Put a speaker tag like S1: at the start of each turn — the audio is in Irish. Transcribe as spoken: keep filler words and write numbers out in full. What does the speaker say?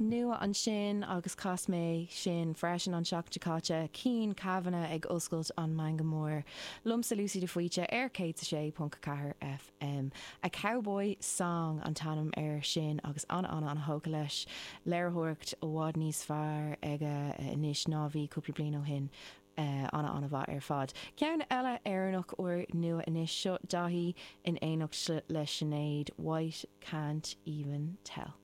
S1: Nua ansin agus chas mé sin freisin an seachtain seo caite Cian Kavanagh ag oscailt an Meangadh Mór. Liomsa Lucy de Faoite ar céad sé ponc ceathair FM. A Cowboy Song an t-ainm air sin agus an an an thógtha leis léiritheoireacht i bhfad níos fearr aige anois ná bhí cúpla bliain ó shin. Uh, ana an-mhaith ar fad. Ceann eile Éireannach úr nua anois seo Daithí in éineacht le Sinéad White can't even tell.